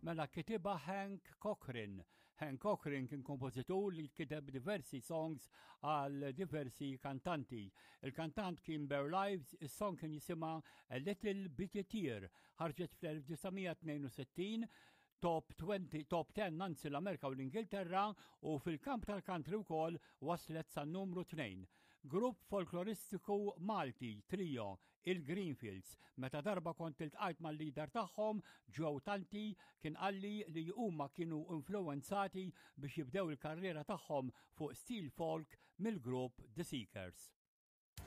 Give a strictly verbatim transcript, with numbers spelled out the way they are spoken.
Mela kitibha Hank Cochran. Hank Cochran kien kompożitur li kiteb diversi songs għal diversi kantanti. Il-kantant kien Burl Ives, is-song kien jisimha A Little Bitty Tear, ħarġet fl-elf disa' mija tnejn u sittin, top twenty, top ten anzi, l-Amerika u l-Ingilterra u fil-kamp tal-country wkoll waslet sa numru tnejn. Grupp folkloristiku Malti, trio, il-Greenfields. Meta darba kont iltqajt mal-leader tagħhom, Joe Tanti, kien qalli li huma kienu influenzati biex jibdew il-karriera tagħhom fuq stil folk mill-grupp The Seekers.